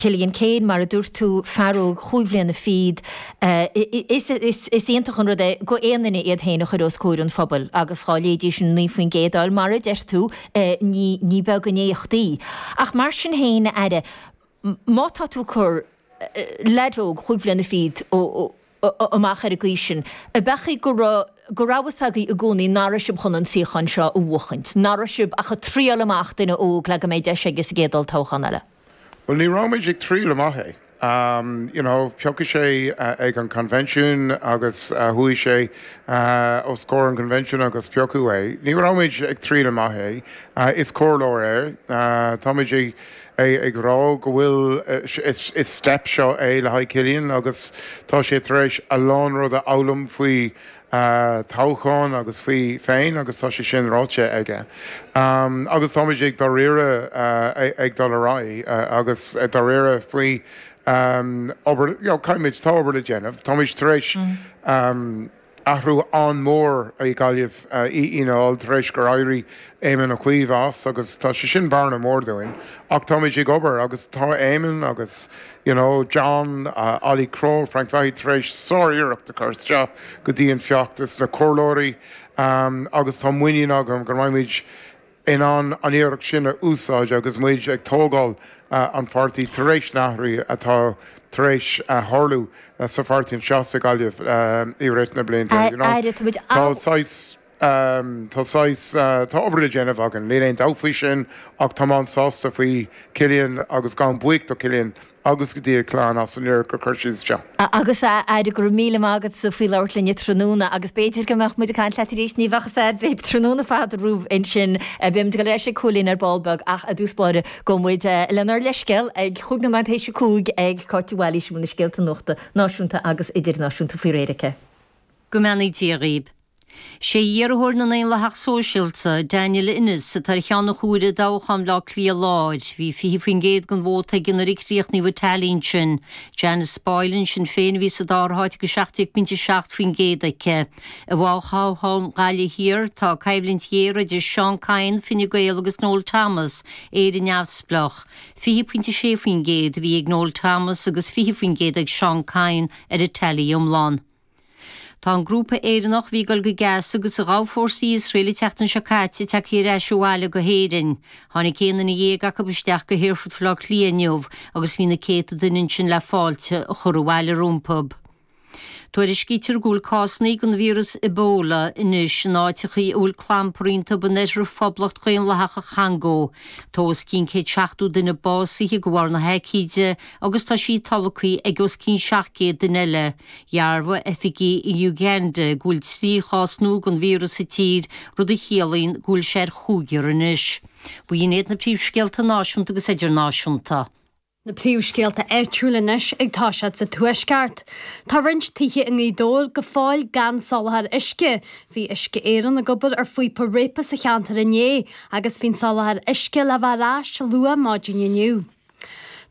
Cillian Keane, mar a dúirt tú, fear óg chúig bhliana fichead, is iontach an rud é go aon duine iad féin a chur os comhair an phobail agus dhá léidís an 9% a fháil, mar a deir tú, ní beag an éacht í. Ach mar sin féin, a Aire, má tá tú ag cur leaid óg chúig bhliana fichead amach ar an gcaoi sin, ab ea go raibh, go raibh fhios agaibh i gcónaí nach raibh sibh chun an suíochán seo a bhuachaint, nach raibh sibh ach ag triáil amach duine óg le go mbeidh deis aige sa gcéad olltoghchán eile? Bhuel, ní raibh muid ag triail amach é. You know, piocadh sé ag an convention agus chuaigh sé os comhair an convention agus piocadh é. Ní raibh muid ag triail amach é. Is comhairleoir é. Tá muid ag ag rá go bhfuil is step seo é le haghaidh Cillian agus tá sé tar éis a lán rud a fhoghlaim faoi toghchán agus faoi féin agus tá sé sin ráite aige. Agus táimid ag dáiríre ag dul ar aghaidh agus dáiríre faoi obair, you know, caithfimid, tá obair le déanamh. Táimid tar éis athrú an-mhór i Gaillimh i Fhianna Fháil tar éis gur éirigh Éamon Ó Cuív as agus tá sé sin bearna mór dúinn ach táimid ag obair agus tá Éamon agus You know, John, Ollie Crowe, Frank Fahy tar éis sár-iarracht a chur isteach go dtí an feachtas, na comhairleoirí agus tá muinín agam go mbeidh muid in ann an iarracht sin a úsáid agus muid ag tógáil an pháirtí tar éis na hathruithe atá tar éis tharlú sa pháirtí anseo sa Ghaillimh i rith na blianta. You know, tá saghas. Tá saghas, tá obair le déanamh againn, níl aon dabht faoi sin ach táim an-sásta faoi Cillian agus gabhaim buíoch do Cillian agus go dtí a chlann as an iarracht gur chuir siad isteach. Agus a Aire, go raibh míle maith agatsa faoi labhairt linne tráthnóna agus b'fhéidir go mbeadh muid ag caint leat arís, ní bheadh fhios a'd, beidh tráthnóna fada romhaibh ansin. Beidh muid ag dul ar ais ag Cóilín ar ball beag ach i dtús báire gabhfaidh muid lenár leithscéal ag chúig nóiméad théis a 5 ag Cáit de Bhailís a bhfuil na scéalta nuachta náisiúnta agus idirnáisiúnta faoi réir aici. Go mbeannaí Dia dhaoib. Sé iarrthóir na nDaonlathach Sóisialta, Daniel Ennis, atá ar cheann an chomhairimh i dtoghchán Bhaile Átha Cliath Láir. Bhí 20% den vóta aige nuair a críochnaíodh an teailí ansin. Janice Boylan, Sinn Féin, a bhí sa dara háit agus 17.7% aici. I bhfothoghchán Ghaillimh Thiar, tá coimhlint ghéar idir Seán Kyne, Fine Gael, agus Noel Thomas, Éire Neamhspleách. 20.6% a bhí ag Noel Thomas agus 20% ag Seán Kyne ar an teailí iomlán. Tá an grúpa Éireannach a bhí ag dul go Gaza agus a ghabh fórsaí Iosrael an tseachtain seo caite tagtha ar ais abhaile go hÉirinn. Tháinig 11 duine acu isteach go hAerfort Bhaile Átha Cliath inniu agus bhí na céadta duine ansin le fáilte a chur abhaile rompu. Tuairiscítear go bhfuil cásanna den víreas Ebola anois in áiteachaí a bhfuil clampar iontu in oirthear Phoblacht Dhaonlathach an Chongó. Tá os cionn 170 duine básaithe de bharr na haicíde agus tá sí tolgtha ag os cionn 700 duine eile. Dhearbhaigh oifigigh in Uganda go bhfuil 3 chás nua den víreas sa tír, rud a chiallaíonn go bhfuil sé ar chúigear anois. B'in iad na príomhscéalta náisiúnta agus idirnáisiúnta. Na príomhscéalta áitiúil anois ag toiseacht sa Tuaisceart. Tá roinnt tithe i nGaoth Dobhair go fóill gan soláthar uisce. Bhí Uisce Éireann ag obair ar phíopa réabtha sa cheantar inné agus bhí an soláthar uisce le bheith ar ais luath maidin inniu.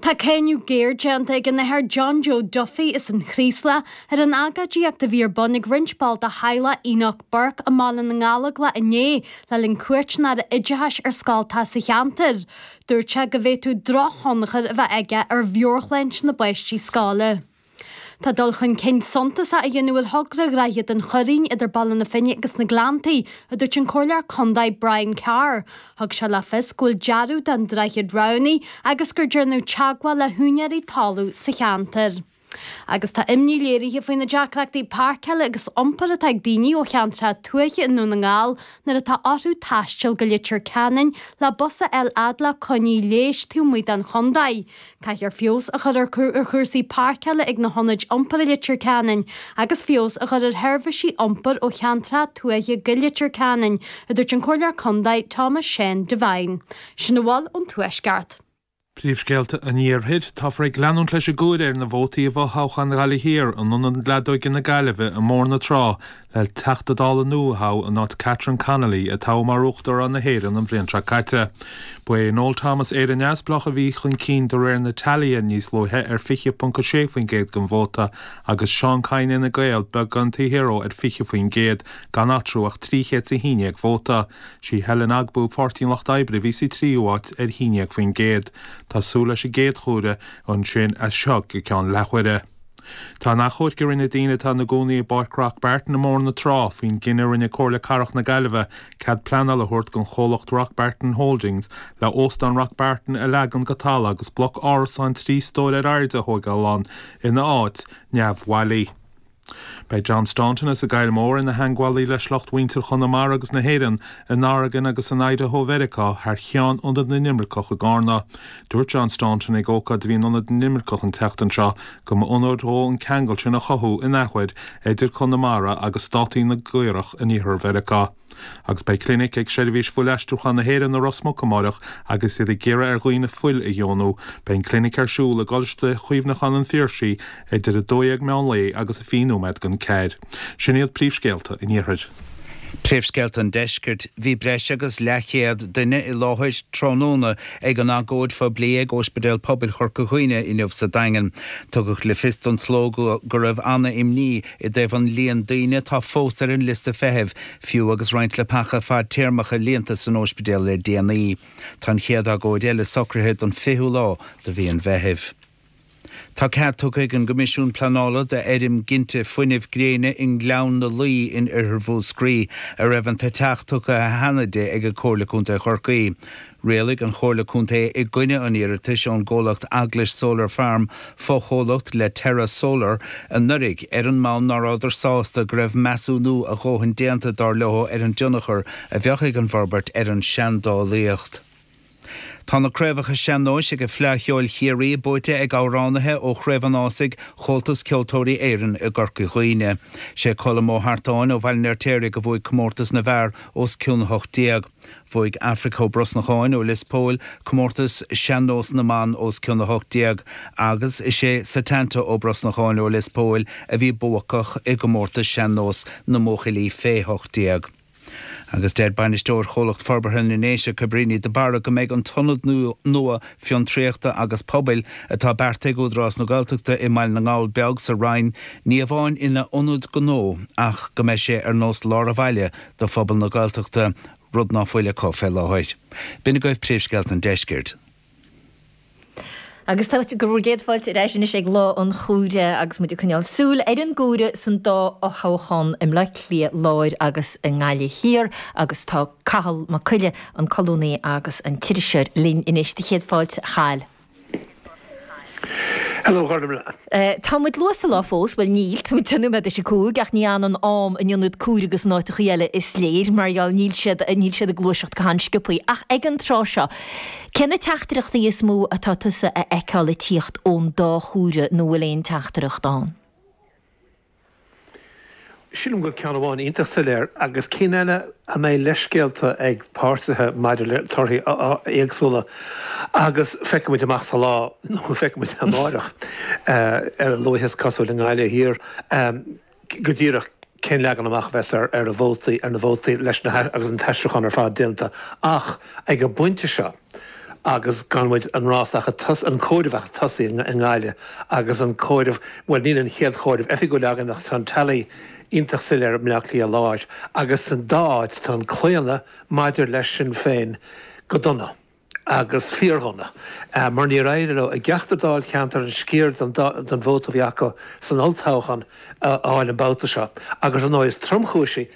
Tá cáineadh géar déanta ag an Athair John Joe Duffy as an Chraoslach ar an agóidíocht a bhí ar bun ag roinnt ball de theaghlach Enoch Burke i mBaile na nGallóglach inné le linn cuairt an Aire Oideachais ar scoltacha sa cheantar. Dúirt sé go bhféadfadh drochthionchar a bheith aige ar mheabhairshláinte na bpáistí scoile. Tá dul chun cinn suntasach á dhéanamh ar thogra Dhroichead an Choirín idir Baile na Finne agus na Gleanntaí, a dúirt an Comhairleoir Contae Brian Carr. Thug sé le fios go bhfuil dearadh don droichead roghnaithe agus gur déanadh teagmháil le húinéirí talún sa cheantar. Agus tá imní léirithe faoi na deacrachtaí páirceála agus iompair atá ag daoine ó cheantracha tuaithe i nDún na nGall nuair atá orthu taisteal go Leitir Ceanainn le bus a fháil fhad le coinní leighis taobh amuigh den chontae. Caithfear feabhas a chur ar chúrsaí páirceála ag na hionaid iompair i Leitir Ceanainn agus feabhas a chur ar sheirbhísí iompair ó cheantracha tuaithe go Leitir Ceanainn, a dúirt an Comhairleoir Contae Thomas Seán Devine. Sin a bhfuil ón Tuaisceart. Príomhscéalta an Iarthair, Táthar ag leanúint leis an gcomhaireamh ar na vótaí i bhfothoghchán Ghaillimh Thiar in Ionad Leadóige na Gaillimhe i mBóthar na Trá le Teachta Dála nua a thoghadh in áit Catherine Connolly, a toghadh mar Uachtarán na hÉireann an bhliain seo caite. Ba é Noel Thomas, Éire Neamhspleách, a bhí chun cinn de réir na teailithe níos luaithe ar 20.6% den vóta agus Seán Kyne Fhine Gael beagán taobh thiar dó ar 20%, gan eatarthu ach 311 vóta. Sí Helen Ogbu, Páirtí an Lucht Oibre, a bhí sa tríú háit ar 11%. Tá súil leis an gcéad chomhaireamh ansin as seo go ceann leathuaire. Tá an achomhairc a rinne daoine atá ina gcónaí i bPáirc Rock Barton i mBóthar na Trá faoin gcinneadh a rinne Comhairle Cathrach na Gaillimhe cead pleanála a thabhairt don chomhlacht Rock Barton Holdings le Óstán Rock Barton a leagan go talamh agus bloc árasán 3 stór ar airde a thóigeáil ann ina áit, neamhbhailí. Beidh John Staunton as an gCoill Mhór ina theangmhálaí le sliocht mhuintir Chonamara agus na hÉireann in Oregon agus in Idaho Mheiriceá thar cheann Ionad na nImirceach i gCarna. Dúirt John Staunton ag ócáid a bhí in Ionad na nImirceach an tseachtain seo go mba onóir dhó an ceangal sin a chothú in athuair idir Conamara agus státaí na gCaorach in iarthar Mheiriceá. Agus beidh clinic ag Seirbhís Fuilaistriúcháin na hÉireann i Ros Muc amáireach agus iad ag iarraidh ar dhaoine fuil a dheonú. Beidh an clinic ar siúl i gColáiste Chuimhneacháin an Phiarsaigh idir 12 meán lae agus 20 nóiméad don 4. Sin iad príomhscéalta an Iarthair. Príomhscéalta an Deiscirt, Bhí breis agus leathchéad duine i láthair tráthnóna ag an agóid phoiblí ag Ospidéal Pobail Chorca Dhuibhne inniu sa Daingean. Tugadh le fios don tsló go raibh ana-imní i dtaobh an líon daoine atá fós ar an liosta feithimh, fiú agus roinnt leapacha fadtéarmacha líonta san óispidéal le déanaí. Tá an chéad agóid eile socraithe don 20ú lá de mhí an Mheithimh. Tá cead tugtha ag an gCoimisiún Pleanála d'fheirm ginte fuinnimh gréine i nGleann na Laoi in oirthear Mhúscraí, a raibh an t-eiteach tugtha cheana di ag Comhairle Contae Chorcaí. Rialaigh an Chomhairle Contae i gcoinne an iarratais ón gcomhlacht Eaglais Solar Farm, fochomhlacht le Terra Solar, anuraidh, ar an mbonn ná rabhadar sásta go raibh measúnú a dhóthain déanta, dar leo, ar an dtionchar a bheadh ag an bhforbairt ar an seandálaíocht. Tá na craobhacha sean-nóis ag Fleadh Cheoil Chiarraí buaite ag amhránaithe ó Chraobh an Ásaigh Chomhaltas Ceoltóirí Éireann i gCorca Dhuibhne. Sé Colm Ó hArtáin ó Bhaile an Fheirtéaraigh a bhuaigh comórtas na bhfear os cionn 18. Bhuaigh Aifric Ó Brosnacháin ó Lios Póil comórtas Sean-Nós na mBan os cionn 18 agus is é Setanta Ó Brosnacháin ó Lios Póil a bhí buacach i gcomórtas Sean-Nós na mBuachaillí fé 18. Agus deir bainisteoir Chomhlacht Forbartha na nDéise, Cabríní de Barra, go mbeidh an t-ionad nua fiontraíochta agus pobail atá beartaithe ag Údarás na Gaeltachta i mBaile na nGall Beag sa Rinn ní amháin ina ionad gnó ach go mbeidh sé ar nós lár an bhaile do phobal na Gaeltachta, rud ná fuil acu fé láthair. B'in agaibh príomhscéalta an deiscirt. Agus tá bhur gcéad fáilte ar ais anois ag Lá an Chomhairimh agus muid ag coinneáil súil ar an gcomhaireamh san dá fhothoghchán i mBleá Cliath Láir agus i nGaillimh Thiar agus tá Cathal Mac Coille, an colúnaí agus an t-iriseoir linn anois. Do chéad fáilte, a Chathail. Hello, Gormfhlaith. Tá muid luath sa lá fós, bhuel níl, tá muid 10 nóiméad théis a 5, ach ní fhanann am in ionad comhairimh agus in áiteachaí eile is léir, mar gheall níl siad, níl siad ag gluaiseacht go han-sciobthaí. Ach ag an tráth seo, cé na teachtaireachtaí is mó atá tusa a fheiceáil ag tíocht ón dá chomhaireamh nó bhfuil aon teachtaireacht ann? Sílim go bhfuil ceann amháin iontach soiléir agus cinn eile a mbeidh leithscéalta ag páirtithe maidir le torthaí éagsúla agus feicfidh muid amach sa lá, nó feicfidh muid amáireach ar a luaithe is cosúil i nGaillimh Thiar go díreach cén leagan amach a bheas ar ar vótaí, ar na vótaí leis na agus an t-aistriúchán ar fad déanta ach ag an bpointe seo. agus gan muid an rás ach ag tosú, an comhaireamh ach ag tosaí i nGaillimh agus an comhaireamh, bhuel níl an chéad chomhaireamh oifigiúil againn ach tá an tally iontach soiléir i mBleá Cliath Láir agus san dá áit tá an claonadh maidir le Sinn Féin go dona agus fíordhona mar níor éirigh leo i gceachtar dáilcheantar an sciar den den vóta a bhí acu san olltoghchán a fháil an babhta seo agus ar ndóigh is tromchúisí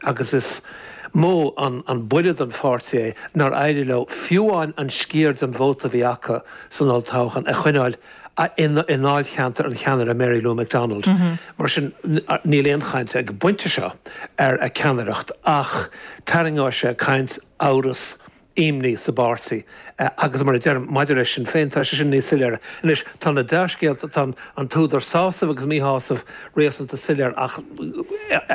agus is mó an buille don pháirtí é nár éirigh leo fiú amháin an sciar den vóta a bhí acu san olltoghchán a choinneáil i ndáilcheantar an cheannaire Mary Lou McDonald. Mar sin, níl aon chaint ag an bpointe seo ar a ceannaireacht ach tarraingeoidh sé caint, amhras, imní sa bpáirtí agus mar a deirim, maidir le Sinn Féin, tá sé sin níos soiléire. Anois, tá na dea-scéalta, tá an t-údar sásaimh agus míshásaimh réasúnta soiléir ach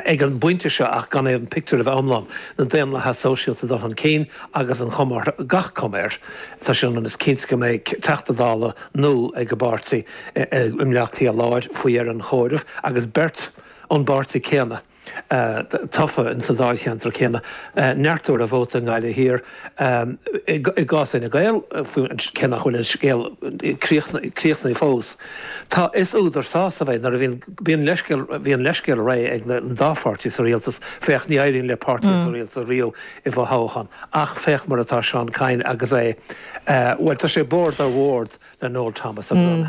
ag an bpointe seo ach gan an pictiúr a bheith iomlán, na Daonlathaithe Sóisialta ag dul chun cinn agus an chuma orthu, gach cuma air, tá sé ionann is cinnte go mbeidh Teachta Dála nua ag an bpáirtí i mBleá Cliath Láir faoi dheireadh an chomhairimh agus beirt ón bpáirtí céanna. Tofa in sa dáilcheantar céanna, neartú ar a vóta i nGaillimh Thiar. I gcás Fhine Gael, cé nach bhfuil an scéal críochnaithe fós, tá, is údar sásaimh é nuair a bhíonn, bíonn leithscéal, bhí an leithscéal réidh ag an dá pháirtí sa rialtas, féach, ní éiríonn le páirtí sa rialtas riamh i bhfothoghchán, ach féach mar atá Seán Kyne agus é, bhuel, tá sé bord ar bhord le Noel Thomas agus an.